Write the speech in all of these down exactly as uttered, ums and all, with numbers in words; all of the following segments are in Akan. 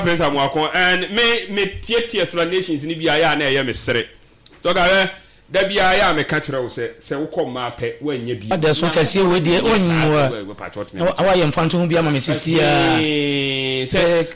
Prince Amoako, and me me tietie explanations ni bi ayɛ a na ɛyɛ me sere. Sɔka hɛ da bi ayɛ a meka kyerɛ wo sɛ sɛ wokɔ mmaa pɛ, woanyɛ bi. Ɔda so kɛseɛ wei deɛ ɔnmu a wayɛ mfa nto ho bi ama me sisiaa. Sɛ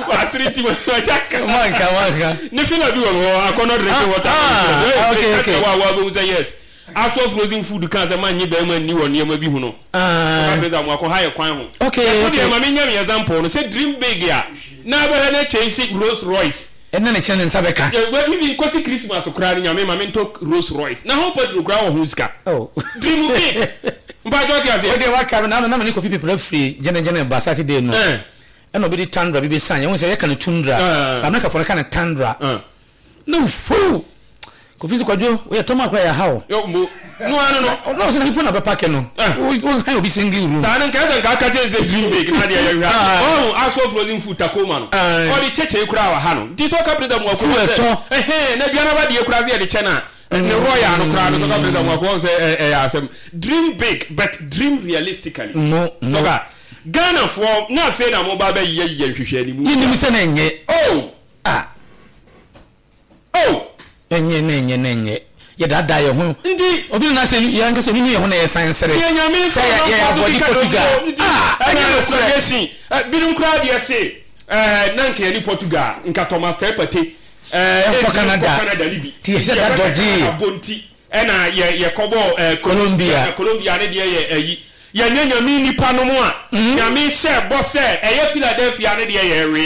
wasere nti wagya ka. Manka manka. Ne fila bi wɔ hɔ, akɔnɔ drinking water. Ah, okay, okay. Wa wa bɛhu sɛ yes, aso frozen food kan sɛ manye bɛrima nni wɔ nneɛma bi ho no. Ah. Prince Amoako ha yɛ kwan ho. Okay, ɛko okay. Deɛ ma menyɛ me example no sɛ dream big a na bɛhwɛ ne kyɛnse Rolls Royce. Ɛna ne kyerɛ ne nsa bɛka. Bibi nkosi Christmas koraa no, Nyame ma mentɔ Rolls Royce na ho petrol koraa wɔ ho sika. Oh. Dream big, mpatwɔ te aseɛ. Wode waka no na na mene Kofi Pepra firi gyɛnɛgyɛnɛ ba Saturday no. Eh. Ɛna obi de Tundra bi bɛsan yɛhu sɛ yɛka no Tundra. Ah. Amerikafoɔ no ka no Tundra. Ah. Na huu Kofi sɛ, "Kwadwo, woyɛ tɔm akora yɛ ha o." Yo, mo no ano no. Ɔno sɛ na nipa na bɛpake no. Ah. Wohan obi single room. Saa no nka sɛ nka aka kyerɛ sɛ dream big na adeɛ yɛhwɛ. Ah. Ɔho aso frozen food Tacoma no, Ah. ɔde kyɛkyɛ koraa wɔ ha no, nti sɛ ɔka Prince Amoako Fuel sɛ tɔ. ɛhɛn na aduane aba deɛ koraa sɛ yɛde kyɛ no a, ne royal no koraa no, sɛ ɔka Prince Amoako ɔhu sɛ ɛ- ɛyɛ asɛm. Dream big but dream realistically. Mo mo. Sɔka Ghanafoɔ na afei na moba bɛyɛ yɛ nhwehwɛ animu. Yɛnim sɛ na ɛnyɛ. Oh. Ah. Oh. Ɛnyɛ na ɛnyɛ na ɛnyɛ yɛdaadaa yɛ ho. Nti obi na sɛ yɛn ankasa nínú yɛn ho na yɛsan sere. Deɛ Nyame sɛ yɛ yɛ abɔde Portugal. Ah, ɛna ɛnyɛ nokorɛ. explanation binom koraa deɛ se ɛɛ na nka yɛne Portugal, nka Thomas Partey ɛɛ ɛnkɔ Canada. Canada ni bi. Ti yɛhyɛ da dɔgye. Canada bɔ nti ɛna yɛ yɛkɔbɔ ɛɛ Colombia. Colombia ne deɛ yɛ ɛyi yɛnyɛ Nyame nipa no mu a Nyame hyɛ bɔ sɛ ɛyɛ Philadelphia ne deɛ yɛ ɛwe.